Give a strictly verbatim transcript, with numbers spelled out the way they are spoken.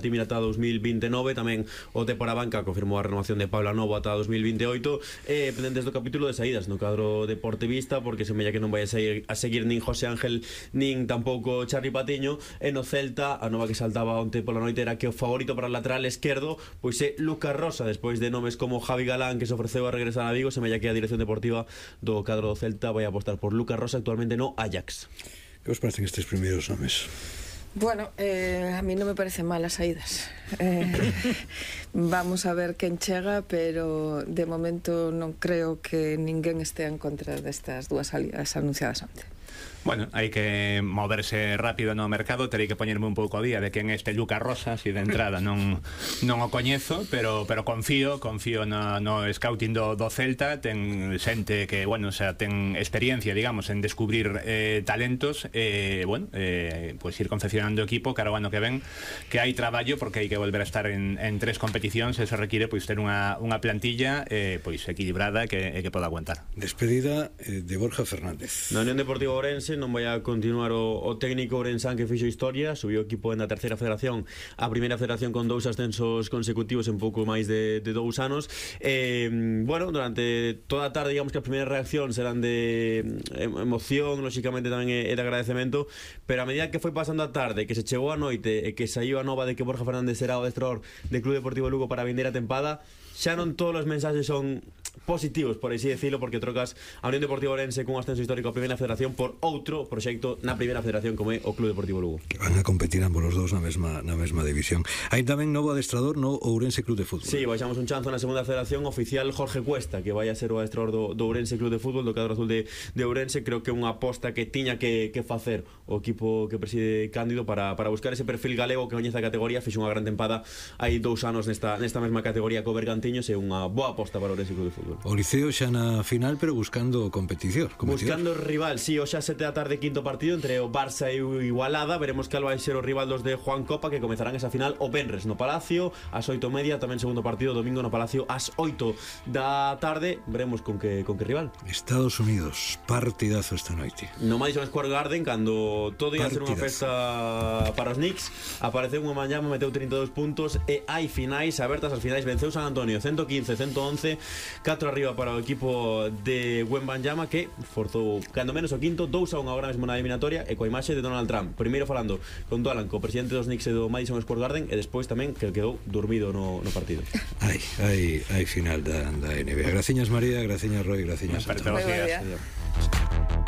Timir ata dos mil vinte e nove, tamén o T por a banca confirmou a renovación de Pablo Novo ata dos mil vinte e oito, e pendentes do capítulo de saídas no cadro deportivista, porque semella que non vai a seguir, a seguir nin José Ángel nin tampouco Charly Patiño. E no Celta, a nova que saltaba onte pola noite era que o favorito para o lateral esquerdo pois é Lucas Rosa, despois de nomes como Javi Galán, que se ofreceu a regresar a Vigo. Semella que a dirección deportiva do cadro do Celta vai apostar por Lucas Rosa, actualmente no Ajax. Que vos parecen estes primeiros nomes? Bueno, eh, a mí non me parecen malas saídas. Eh, vamos a ver quen chega, pero de momento non creo que ninguén estea en contra destas dúas salidas anunciadas onte. Bueno, hai que moverse rápido no mercado. Terei que poñerme un pouco a día de quen é este Lucas Rosa, si de entrada non non o coñezo, pero pero confío, confío no, no scouting do, do Celta. Ten xente que, bueno, o sea, ten experiencia, digamos, en descubrir eh, talentos, e, eh, bueno, eh, pues ir confeccionando equipo cara ao ano que ven, que hai traballo, porque hai que volver a estar en, en tres competicións. Eso require, pois, ter unha, unha plantilla eh, pois equilibrada que, que poda aguantar. Despedida eh, de Borja Fernández. Na Unión Deportiva Ourense non vai a continuar o, o técnico ourensán que fixo historia. Subiu o equipo na terceira federación a primeira federación con dous ascensos consecutivos en pouco máis de, de dous anos. eh, Bueno, durante toda a tarde, digamos que as primeiras reaccións eran de emoción, lóxicamente tamén é de agradecemento, pero a medida que foi pasando a tarde, que se chegou a noite e que saiu a nova de que Borja Fernández será o adestrador de Club Deportivo Lugo para vender a tempada, xa non todos os mensaxes son positivos, por así decirlo, porque trocas a Unión Deportiva Ourense cun ascenso histórico a primeira federación por outro proxecto na primeira federación como é o Club Deportivo Lugo, que van a competir ambos os dous na mesma, na mesma división. Hai tamén novo adestrador no Ourense Club de Fútbol. Sí, baixamos un chanzo na segunda federación, oficial Jorge Cuesta, que vai a ser o adestrador do, do Ourense Club de Fútbol, do cadro azul de, de Ourense. Creo que é unha aposta que tiña que, que facer o equipo que preside Cándido para, para buscar ese perfil galego que coñece a categoría. Fixo unha gran tempada hai dous anos nesta, nesta mesma categoría co Bergantiños, é unha boa aposta para o Ourense Club de Fútbol. O Liceo xa na final, pero buscando competición. Buscando rival, sí, hoxe a sete da tarde, quinto partido entre o Barça e o Igualada. Veremos cal vai ser o rival dos de Juan Copa, que comezarán esa final o venres no Palacio ás oito e media, tamén segundo partido domingo no Palacio ás oito da tarde. Veremos con que, con que rival. Estados Unidos, partidazo esta noite no Madison Square Garden, cando todo ia ser unha festa para os Knicks, apareceu unha mañá, meteu trinta e dous puntos e hai finais abertas. As finais venceu San Antonio ciento quince a ciento once, catro arriba para o equipo de Wembanyama, que forzou cando menos o quinto, dous a un agora mesmo na eliminatoria, e coa imaxe de Donald Trump primeiro falando con Dolan, co presidente dos Knicks e do Madison Square Garden, e despois tamén que quedou dormido no, no partido. Hai, hai, hai final da, da N B A. Graciñas María, graciñas Roy, graciñas Graciñas.